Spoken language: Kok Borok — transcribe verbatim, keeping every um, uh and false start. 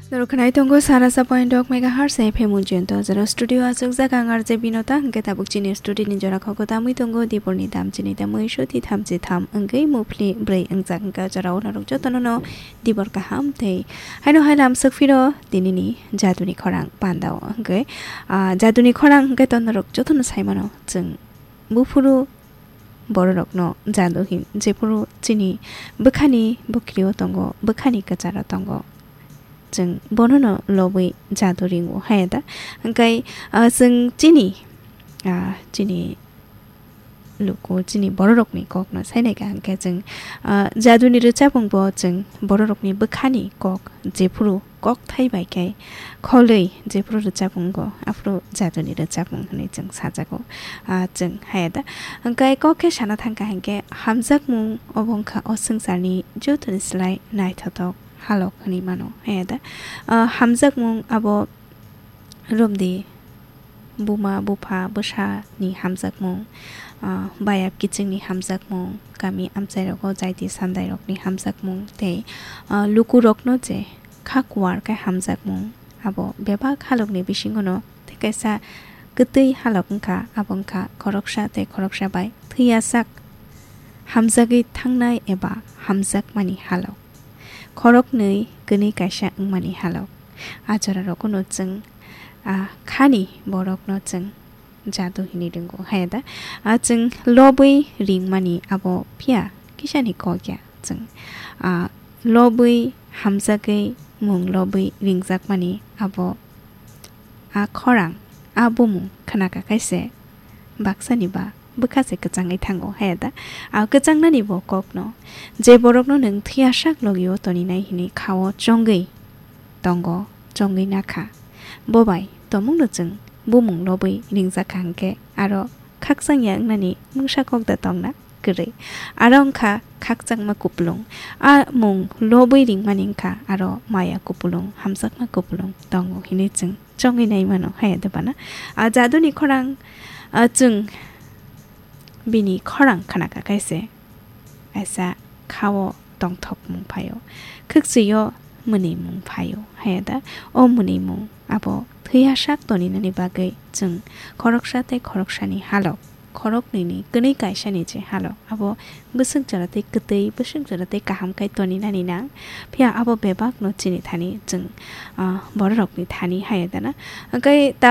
Norok khwnai tongo sara sa point dok megahertz F M Ujjayanta o jora studio aswk jaga ang R J Binota, hwnkhe tabuk chini studio ni jora kho kwtamwi tongo Diporni dam chini tamwi soti thamchi tham wngwi muphli bwrwi wngjak, hwnkhe o jora o norok jotono no Dibor kaham tei haino hai lamswk phiro tinini jaduni khorang pandao hwnkhe, ah, jaduni khorang hwnkhe to norok jotono saimano chwng buphuru bororokno jadu hin, jephuru chini bwkhani bwkrio tongo, bwkhani kwcharo tongo, chwng bonono lobwi jadu ringo, haya da? Hwnkhe, ah, chwng chini, ah, chini luku, chini bororokni kokno sainaikha hwnkhe chwng, ah, jaduni rwchapungbo chwng bororokni bwkhani kok jephuru kokthai bai khe kholwi jephuru rwchapung go, aphuru jaduni rwchapung hwnwi chwng sajago. Ah, chwng haya da? Hwnkhe kok khe sana thangkha hwnkhe, hamjakmung obo wngkha o swngcharni jotoni slai naithotok halok hwnwi mano, haya da? Ah, hamjakmung abo romdi buma, bupha, bwsani hamjakmung, ah, bayap kichingni hamjakmung, kami amchairogo jaiti sandairokni hamjakmung tei, ah, lukurokno je kha kuar khe hamjakmung, abo bebak halokni bisingono tei kaisa kwtwi halok wngkha, abo wngkha khoroksa tei khoroksa bai thwiyasak hamjagwi thangnai eba hamjakmani halok, khoroknwi kwnwi kaisa wngmani halok. A jorarokno chwng, ah, khani borokno chwng jadu hinwi ringo, haya da? Ah, chwng lobwi ringmani abo phiya kisani kok ya. Chwng, ah, lobwi hamjagwi mung lobwi ringjakmani abo a khorang, a bumung khnaka khaise baksani ba bwkha se kwchangwi thango, haya da? A kwchangnani bo kokno, je borokno nwng thwiyasak logio toninai hinwi khao chongwi tongo, chongwi nakha. Bo bai tomungno chwng bumung lobwi ringjakha hwnkhe aro khakchangya wngnani mungsa kok da tongna kwrwi. Aro wngkha khakchangma kupulung. A mung lobwi ringmani wngkha aro maya kupulung, hamjakma kupulung tongo hinwi chwng chongwi nai mano, haya da bana? A jaduni khorang, a, chwng bini khorang khnaka khaise kaisa khao tongthokmung phaio, khwkchwio mwnwimung phaio, haya da? O mwnwimung abo thwiyasak toninani bagwi chwng khoroksa tei khoroksani halok, khoroknwini kwnwi kaisani je halok, abo bwswk jora tei kwtwi, bwswk jora tei kaham khai toninani nang. Phiya abo bebakno chini thani chwng, ah, bororokni thani, haya da na? Hwnkhe ta